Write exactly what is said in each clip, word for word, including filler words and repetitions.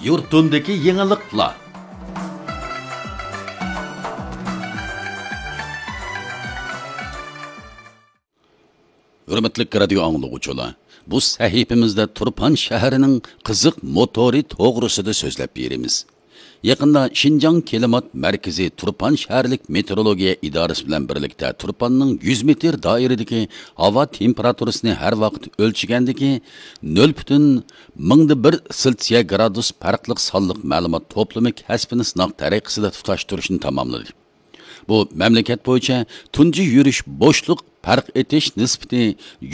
يۇرتۇمدىكى يېڭىلىقلار. ھۆرمەتلىك رادىيو ئاڭلىغۇچىلار، بۇ سەھىپىمىزدە تۇرپان شەھىرىنىڭ قىزىق موتورى توغرىسىدا سۆزلەپ بېرىمىز. يېقىندا شىنجاڭ كىلىمات مەركىزى تۇرپان شەھەرلىك مېتېئورولوگىيە ئىدارىسى بىلەن بىرلىكتە تۇرپاننىڭ يۈز مېتىر دائىرىدىكى ھاۋا تېمپېراتۇرىسىنى ھەر ۋاقىت ئۆلچىگەندىكى نۆل پۈتۈن مىڭدا بىر سېلسىيە گرادۇس پەرقلىق سانلىق مەلۇمات توپلىمى كەسپىنى سىناق تەرىقىسىدە تۇتاشتۇرۇشنى تاماملىدى. بۇ مەملىكەت بويىچە تۇنجى يۈرۈش بوشلۇق پەرق ئېتىش نىسبىتى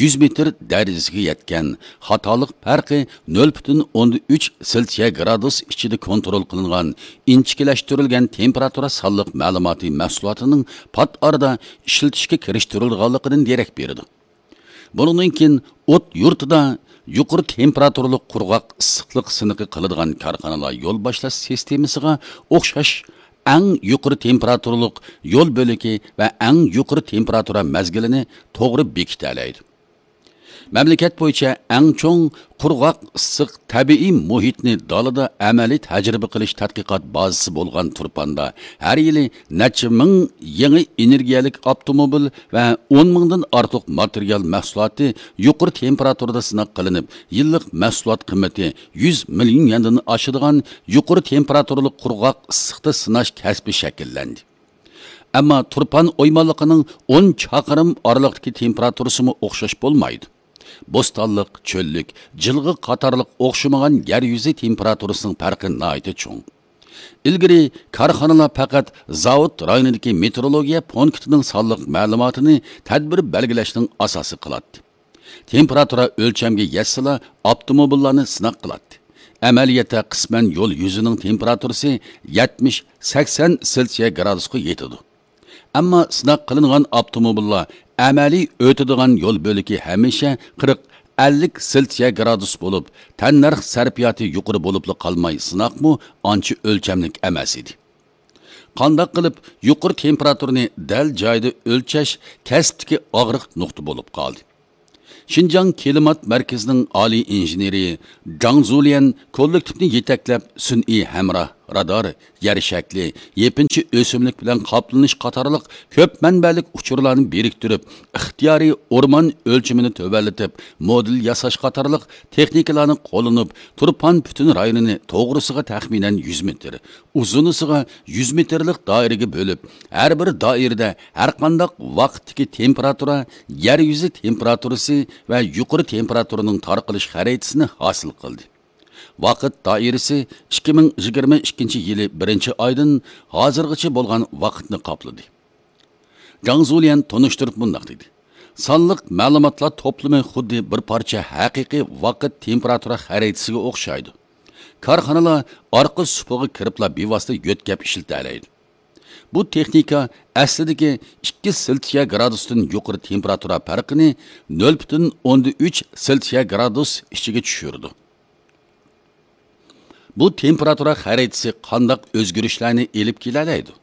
يۈز مېتىر دەرىجىسىگە يەتكەن، خاتالىق پەرقى نۆل پۈتۈن ئوندىن ئۈچ سېلسىيە گرادۇس ئىچىدە كونترول قىلىنغان ئىنچىكىلەشتۈرۈلگەن تېمپېراتۇرا سانلىق مەلۇماتى مەھسۇلاتىنىڭ پات ئارىدا ئىشلىتىشكە كىرىشتۈرۈلىدىغانلىقىدىن دېرەك بېرىدۇ. بۇنىڭدىن كېيىن ئوت يۇرتىدا يۇقىرى تېمپېراتۇرىلىق قۇرغاق ئىسسىقلىق سىنىقى قىلىدىغان كارخانىلار يول باشلاش سىستېمىسىغا ئوخشاش ئەڭ يۇقىرى تېمپېراتۇرىلىق يول بۆلىكى ۋە ئەڭ يۇقىرى تېمپېراتۇرا مەزگىلىنى توغرا بېكىتەلەيدۇ. مەملىكەت بويىچە ئەڭ چوڭ قۇرغاق ئىسسىق تەبىئىي مۇھىتنى دالىدا ئەمەلىي تەجرىبە قىلىش تەتقىقات بازىسى بولغان تۇرپاندا ھەر يىلى نەچچە مىڭ يېڭى ئېنېرگىيەلىك ئاپتوموبىل ۋە ئون مىڭدىن ئارتۇق ماتېرىيال مەھسۇلاتى يۇقىرى تېمپېراتۇرىدا سىناق قىلىنىپ، يىللىق مەھسۇلات قىممىتى يۈز مىليون يەندىن ئاشىدىغان يۇقىرى تېمپېراتۇرىلىق قۇرغاق ئىسسىقتا سىناش كەسپى شەكىللەندى. ئەمما تۇرپان ئويمانلىقىنىڭ ئون چاقىرىم ئارىلىقتىكى تېمپېراتۇرىسىمۇ ئوخشاش بولمايدۇ. بوستانلىق، چۆللۈك، جىلغا قاتارلىق ئوخشىمىغان يەر يۈزى تېمپېراتۇرىسىنىڭ پەرقى ناھايىتى چوڭ. ئىلگىرى كارخانىلار پەقەت زاۋۇت رايونىدىكى مېتېئورولوگىيە پونكىتىنىڭ سانلىق مەلۇماتىنى تەدبىر بەلگىلەشنىڭ ئاساسى قىلاتتى. تېمپېراتۇرا ئۆلچەمگە يەتسىلا، ئاپتوموبىللارنى سىناق قىلاتتى. ئەمەلىيەتتە قىسمەن يول يۈزىنىڭ تېمپېراتۇرىسى يەتمىش، سەكسەن سېلسىيە گرادۇسقا يېتىدۇ. ئەمما سىناق قىلىنغان ئاپتوموبىللار ئەمەلىي ئۆتىدىغان يول بۆلىكى ھەمىشە قىرىق، ئەللىك سېلسىيە گرادۇس بولۇپ، تەننەرخ سەرپىياتى يۇقىرى بولۇپلا قالماي، سىناقمۇ ئانچە ئۆلچەملىك ئەمەس ئىدى. قانداق قىلىپ يۇقىرى تېمپېراتۇرىنى دەل جايىدا ئۆلچەش كەسىپتىكى ئاغرىق نۇقتا بولۇپ قالدى. شىنجاڭ كىلىمات مەركىزىنىڭ ئالىي ئىنژېنېرى جاڭ زۇليەن كوللېكتىپنى يېتەكلەپ، سۈنئىي ھەمراھ، رادار، يەر شەكلى، يېپىنچا ئۆسۈملۈك بىلەن قاپلىنىش قاتارلىق كۆپ مەنبەلىك ئۇچۇرلارنى بىرىكتۈرۈپ، ئىختىيارىي ئورمان ئۆلچىمىنى تۆۋەنلىتىپ، مودېل ياساش قاتارلىق تېخنىكىلارنى قوللىنىپ، تۇرپان پۈتۈن رايونىنى توغرىسىغا تەخمىنەن يۈز مېتىر، ئۇزۇنىسىغا يۈز مېتىرلىق دائىرىگە بۆلۈپ، ھەر بىر دائىرىدە ھەرقانداق ۋاقىتتىكى تېمپېراتۇرا، يەر يۈزى تېمپېراتۇرىسى ۋە يۇقىرى تېمپېراتۇرىنىڭ تارقىلىش خەرىتىسىنى ھاسىل قىلدى. ۋاقىت دائىرىسى ئىككى مىڭ يىگىرمە ئىككىنچى يىلى بىرىنچى ئايدىن ھازىرغىچە بولغان ۋاقىتنى قاپلىدى. جاڭ زۇليەن تونۇشتۇرۇپ مۇنداق دېدى: سانلىق مەلۇماتلار توپلىمى خۇددى بىر پارچە ھەقىقىي ۋاقىت تېمپېراتۇرا خەرىتىسىگە ئوخشايدۇ. كارخانىلار ئارقا سۇپىغا كىرىپلا بىۋاسىتە يۆتكەپ ئىشلىتەلەيدۇ. بۇ تېخنىكا ئەسلىدىكى ئىككى سېلسىيە گرادۇستىن يۇقىرى تېمپېراتۇرا پەرقىنى نۆل پۈتۈن ئوندىن ئۈچ سېلسىيە گرادۇس ئىچىگە چۈشۈرىدۇ. بۇ تېمپېراتۇرا خەرىتىسى قانداق ئۆزگىرىشلەرنى ئېلىپ كېلەلەيدۇ؟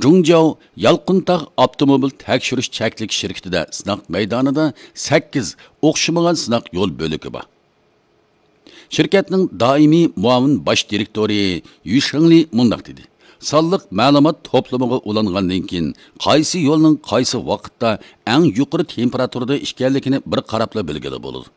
جۇڭجياۋ يالقۇنتاغ ئاپتوموبىل تەكشۈرۈش چەكلىك شىركىتىدە سىناق مەيدانىدا سەككىز ئوخشىمىغان سىناق يول بۆلىكى بار. شىركەتنىڭ دائىمىي مۇئاۋىن باش دىرېكتورى يۈ شېڭلى مۇنداق دېدى: سانلىق مەلۇمات توپلىمىغا ئۇلانغاندىن كېيىن، قايسى يولنىڭ قايسى ۋاقىتتا ئەڭ يۇقىرى تېمپېراتۇرىدا ئىكەنلىكىنى بىر قاراپلا بىلگىلى بولىدۇ.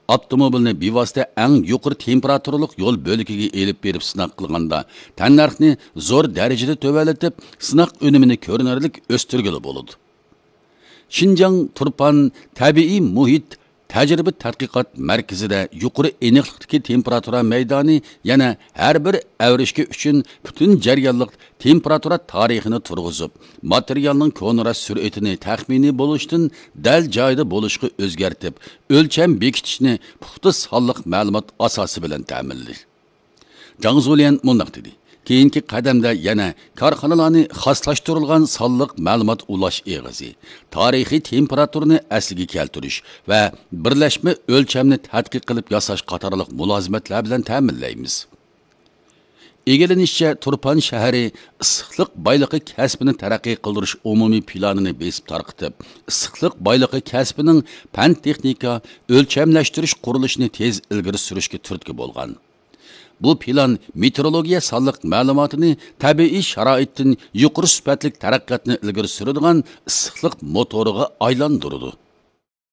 ئاپتوموبىلنى بىۋاسىتە ئەڭ يۇقىرى تېمپېراتۇرىلىق يول بۆلىكىگە ئېلىپ بېرىپ سىناق قىلغاندا، تەننەرخنى زور دەرىجىدە تۆۋەنلىتىپ، سىناق ئۈنۈمىنى كۆرۈنەرلىك ئۆستۈرگىلى بولىدۇ. شىنجاڭ تۇرپان تەبىئىي مۇھىت تەجرىبە تەتقىقات مەركىزىدە يۇقىرى ئېنىقلىقتىكى تېمپېراتۇرا مەيدانى يەنە ھەر بىر ئەۋرىشكە ئۈچۈن پۈتۈن جەريانلىق تېمپېراتۇرا تارىخىنى تۇرغۇزۇپ، ماتېرىيالنىڭ كونىراش سۈرئىتىنى تەخمىنىي بولۇشتىن دەل جايىدا بولۇشقا ئۆزگەرتىپ، ئۆلچەم بېكىتىشنى پۇختا سانلىق مەلۇمات ئاساسى بىلەن تەمىنلىدى. جاڭ زۇليەن مۇنداق دېدى: كېيىنكى قەدەمدە يەنە كارخانىلارنى خاسلاشتۇرۇلغان سانلىق مەلۇمات ئۇلاش ئېغىزى، تارىخىي تېمپېراتۇرىنى ئەسلىگە كەلتۈرۈش ۋە بىرلەشمە ئۆلچەمنى تەتقىق قىلىپ ياساش قاتارلىق مۇلازىمەتلەر بىلەن تەمىنلەيمىز. ئىگىلىنىشىچە، تۇرپان شەھىرى ئىسسىقلىق بايلىقى كەسپىنى تەرەققىي قىلدۇرۇش ئومۇمىي پىلانىنى بېسىپ تارقىتىپ، ئىسسىقلىق بايلىقى كەسپىنىڭ پەن-تېخنىكا، ئۆلچەملەشتۈرۈش قۇرۇلۇشىنى تېز ئىلگىرى سۈرۈشكە تۈرتكە بولغان. بۇ پىلان مېتېئورولوگىيە سانلىق مەلۇماتىنى تەبىئىي شارائىتتىن يۇقىرى سۈپەتلىك تەرەققىياتنى ئىلگىرى سۈرىدىغان ئىسسىقلىق موتورىغا ئايلاندۇرىدۇ.